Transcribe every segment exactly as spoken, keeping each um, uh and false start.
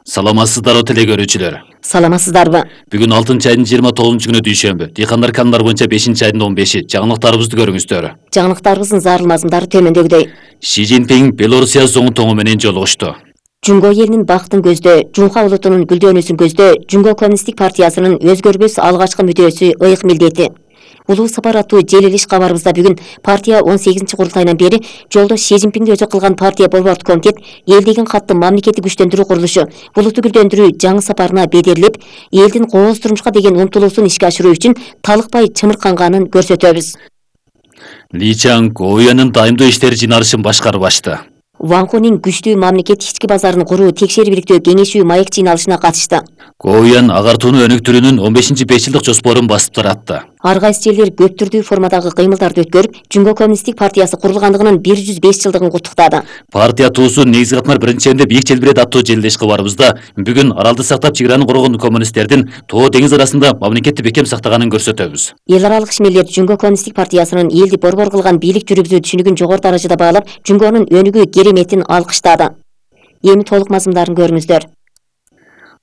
Саламатсыздарбы теле көрүүчүлөр. Саламатсыздарбы? Бүгүн алтынчы айдын жыйырма тогузунчу күнү дүйшөмбү. Дыйкандар каналдар боюнча бешинчи айдын он беши. Жаңылыктарыбызды көрүңүздөр. Жаңылыктарыбыздын зарыл мазмундары төмөндөгүдөй. Ши Цзиньпин Белоруссия зоңтоңу менен жолугушту. Жумго элинин бактын көздө, Жунха улутунун гүлдөнүүсүн көздө, Жумго коммунисттик партиясынын өзгөрбөс алгачкы мүдөөсү ыйык милдети. Улуу сапар аттуу желилиш кабарыбызда бүгүн партия он сегизинчи курултайынан бери жолдош Ши Цзиньпинди өзү кылган партия борбордук комитет эл деген катты мамлекеттик күчтөндүрүү курулушу булутту гүлдөндүрүү жаңы сапарына бедерлеп, элдин кооз турмушка деген умтулуусун ишке ашыруу үчүн талыкпай чымырканганын көрсөтөбүз. Ли Чан Гоуянын дайымдуу иштер жыйналышын башкарып ачты. Ван Хунин күчтүү мамлекет ички базарын куруу текшерип иликтөө кеңешүү маек жыйналышына катышты. Гоуян агартууну өнүктүрүүнүн он бешинчи беш жылдык жоспорун басып таратты. Ар кайсы жерлер көп түрдүү формадагы кыймылдарды өткөрүп, Жумго коммунисттик партиясы курулгандыгынын бир жүз беш жылдыгын куттуктады. Партия туусу негизги катмар биринчи эмде бийик желбирет аттуу желилеш кабарыбызда бүгүн аралды сактап чеграны коргон коммунисттердин Тоо деңиз арасында мамлекетти бекем сактаганын көрсөтөбүз. Эл аралык ишмерлер Жумго коммунисттик партиясынын элди борбор кылган бийлик жүргүзүү түшүнүгүн жогору даражада баалап, Жумгонун өнүгүү кереметин алкыштады. Эми толук мазмундарын көрүңүздөр.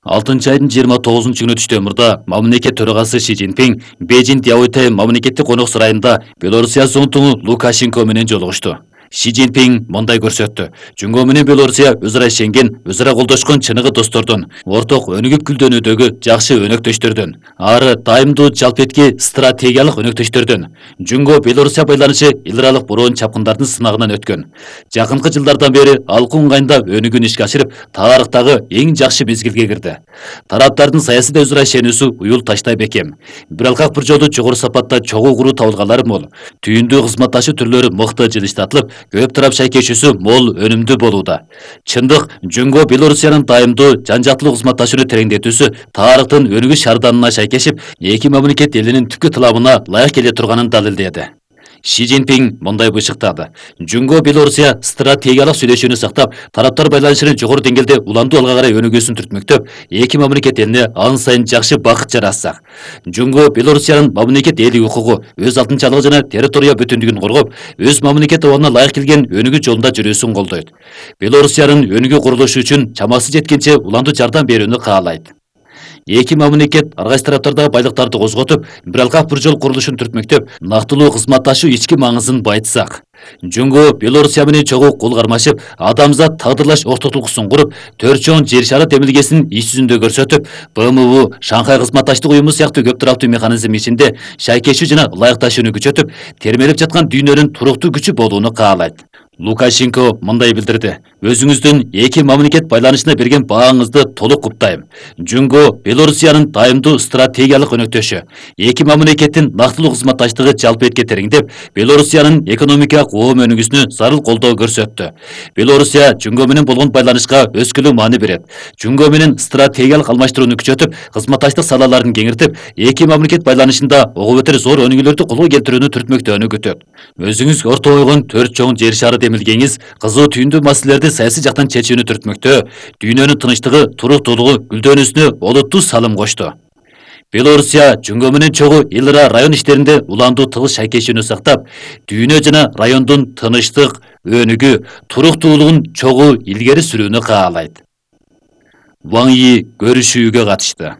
алтынчы айдын жыйырма тогузунчу күнү түштө мамлекет төрагасы Ши Цзиньпин Бейжиң Дяоютай мамлекеттик конок сарайында Белоруссия зоңтоңу Лукашенко менен жолугушту. Ши Цзиньпин мындай көрсөттү. Жумго менен Белоруссия өз ара ишенген, өз ара колдошкон чыныгы достордун, орток өнүгүп гүлдөнүүдөгү жакшы өнөктөштөрдүн, ары дайымдуу жалпетки стратегиялык өнөктөштөрдүн. Жумго Белоруссия байланышы эл аралык бороон чапкындардын сынагынан өткөн. Жакынкы жылдардан бери алкуу ыңгайында өнүгүүнү ишке ашырып, тарыхтагы эң жакшы мезгилге кирди. Тараптардын саясий өз ара ишенүүсү уюл таштай бекем. Бир алкак бир жолу жогору сапатта чогуу куруу табылганлары мол. Түйүндүү кызматташуу түрлөрү мыкты жылыштатылып, көп тарап шайкешүүсү мол өнүмдүү болууда. Чындык, Жумго Белоруссиянын дайымдуу жан-жактылуу кызматташууну тереңдетүүсү тарыхтын өнүгүш шарданына шайкешип, эки мамлекет элинин түпкү тыламына ылайык келе турганын далилдеди. Ши Цзиньпин мындай бышыктады. Жумго Белоруссия стратегиялык сүйлөшүүнү сактап, тараптар байланышынын жогору деңгээлде уламдуу алга карай өнүгүүсүн түртмөктөп, эки мамлекет элине ан сайын жакшы бакыт жаратсак. Жумго Белоруссиянын мамлекет ээлик укугу, өз алтынчалыгы жана территория бүтүндүгүн коргоп, өз мамлекет абалына ылайык келген өнүгүү жолунда жүрүүсүн колдойт. Белоруссиянын өнүгүү курулушу үчүн чамасы жеткенче уламдуу жардам берүүнү каалайт. Эки мамлекет ар кайсы тараптардагы байлыктарды козготуп, бир алкак бир жол курулушун түртмөктөп, нактылуу кызматташуу ички маңызын байытсак. Жумго Белоруссия менен чогуу кол кармашып, адамзат тагдырлаш ортотулкусун куруп, төрт чоң жер шары демилгесин иш жүзүндө көрсөтүп, Б М У, Шанхай кызматташтык уюму сыяктуу көп тараптуу механизм ичинде шайкешүү жана ылайыкташууну күчөтүп, термелеп жаткан дүйнөнүн туруктуу күчү болууну каалайт. Лукашенко мындай билдирди. Өзүңүздүн эки мамлекет байланышына берген бааңызды толук куттайм. Жумго Белоруссиянын дайымдуу стратегиялык өнөктөшү, эки мамлекеттин нактылуу кызматташтыгы жалпы этке тереңдеп, Белоруссиянын экономикалык оом өнүгүүсүнө зарыл колдоо көрсөттү. Белоруссия Жумго менен болгон байланышка өскүлүү маани берет. Жумго менен стратегиялык алмаштырууну күчөтүп, кызматташтык салаларын кеңиртип, эки мамлекет байланышында ого бетер зор өнүгүүлөрдү колго келтирүүнү түртмөктөөнү күтөт. Өзүңүз орто койгон төрт чоң жер шары демилгеңиз кызуу түйүндүү маселелерди саясий жактан чечүүнү түртмөктө, дүйнөнүн тынычтыгы, туруктуулугу, гүлдөнүүсүнө олуттуу салым кошту. Белоруссия Жумго менен чогуу эл ара район иштеринде уламдуу тыгыз шайкешүүнү сактап, дүйнө жана райондун тынычтык, өнүгүү, туруктуулугун чогуу илгери сүрүүнү каалайт. Ван Йи көрүшүүгө катышты.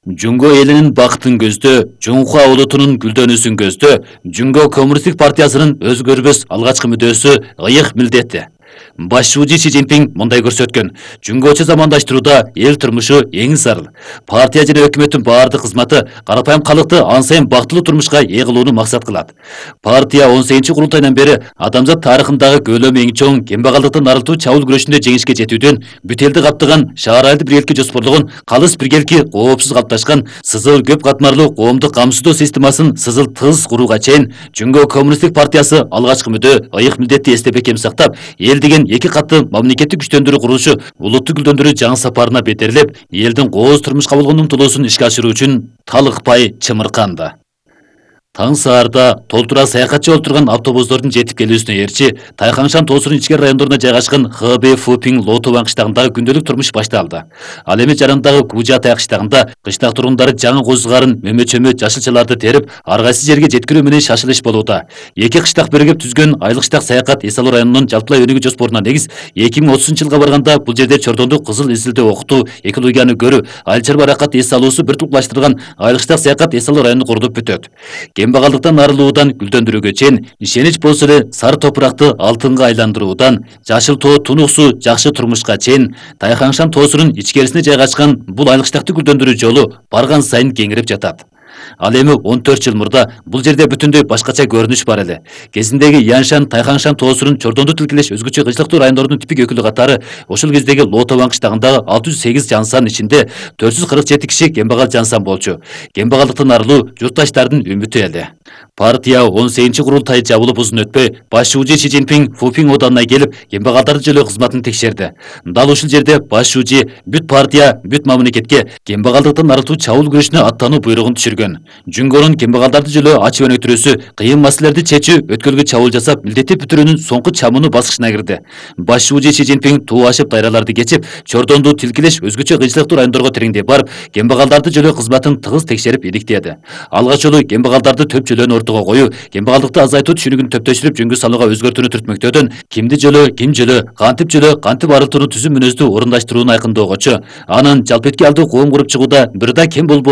Жумго элинин бактын көздө, Жунха улутунун гүлдөнүүсүн көздө, Жумго коммунисттик партиясынын өзгөрбөс алгачкы мүдөөсү ыйык милдети. Башчы Ши Цзиньпин мындай көрсөткөн. Жумгочу замандаштырууда эл турмушу эң зарыл. Партия жана өкмөттүн баардык кызматы карапайым калыкты ан сайын бактылуу турмушка ээ кылууну максат кылат. Партия он сегизинчи курултайдан бери адамзат тарыхындагы көлөмү эң чоң кембагалдыктын арылтуу чабуул күрөшүндө жеңишке жетүүдөн, бүт элди каптаган шаар айылды биргеликке жоспорлогон, калыс биргеликки коопсуз калыпташкан сызыл көп катмарлуу коомдук камсыздоо системасын сызыл тыз курууга чейин Жумго коммунисттик партиясы алгачкы мүдөө, ыйык милдетти эсте бекем сактап, эл деген эки катты мамлекеттик күчтөндүрүү курулушу улутту гүлдөндүрүү жаңы сапарына бетерлеп, элдин кооз турмушка болгон умтулуусун ишке ашыруу үчүн талыкпай чымырканды. Таң саарда толтура саякатчы олтурган автобустардын жетип келүүсүнө ээрчи Тайхаңшан тоосунун ичкери райондоруна жайгашкан Х Б Фупиң Лотубан кыштагындагы күндөлүк турмуш башталды. Ал эми жарандагы Кужатай кыштагында кыштак тургундары жаңы козгарын, мөмө-чөмө, жашылчаларды терип, ар кайсы жерге жеткирүү менен шашылыш болууда. Эки кыштак биригип түзгөн Айлык кыштак саякат Эс Алуу районунун жалпылай өнүгүү жоспоруна негиз эки миң отузунчу жылга барганда бул жерде чордондуу кызыл изилдөө окутуу, экологияны көрүү, айыл чарба аракат эс алуусу бир туплаштырган Айлык кыштак саякат Эс Алуу району курулуп бүтөт. Кембагалдыктан арылуудан гүлдөндүрүүгө чейин ишенич болсо эле сары топуракты алтынга айландыруудан жашыл тоо тунуксу жакшы турмушка чейин Тайхаңшан тоосунун ичкерисине жайгашкан бул Айлык кыштакты гүлдөндүрүү жолу барган сайын кеңирип жатат. Ал эми он төрт жыл мурда бул жерде бүтүндөй башкача көрүнүш бар эле. Кезиндеги Яншан, Тайхаңшан тоосунун чордондуу тилкелеш өзгөчө кыйчылыктуу райондордун типик өкүлү катары ошол кездеги Лотубан кыштагындагы алты жүз сегиз жансан ичинде төрт жүз кырк жети киши кембагал жансан болчу. Кембагалдыктан арылуу журтташтардын үмүтү эле. Партия он сегизинчи курултай жабылып узун өтпөй, баш шүүжү Си Цзиньпин Фупиң оданына келип, кембагалдарды жөлөө кызматын текшерди. Дал ушул жерде баш шүүжү бүт партия, бүт мамлекетке кембагалдыктан арылтуу чабуул күрөшүнө аттануу буйругун түшүргөн. Жүнгөнүн кембагалдарды жөлөө ачып өнүктүрүүсү, кыйын маселелерди чечүү, өткөлгө чабуул жасап, милдеттеп бүтүрүүнүн соңку чамууну баскычына кирди. Баш шүүжү Си Цзиньпин туу ашып дайраларды кечип, чордондуу тилкелеш өзгөчө кыйынчылыктуу райондорго тереңдеп барып, кембагалдарды жөлөө кызматын тыгыз текшерип иликтеди. Алгач жолу кембагалдарды төп жөлөнү ортого коюу, кембагалдыкты азайтуу түшүнүгүн төптөштүрүп жөнгө салууга өзгөртүүнү түртмөктөөдөн кимди жөлөө, ким жөлөө, кантип жөлөө, кантип арылтууну түзүү мүнөздүү орундаштырууну айкындоогочу, анан жалпы этки алдуу коом куруп чыгууда бир да кем болбоо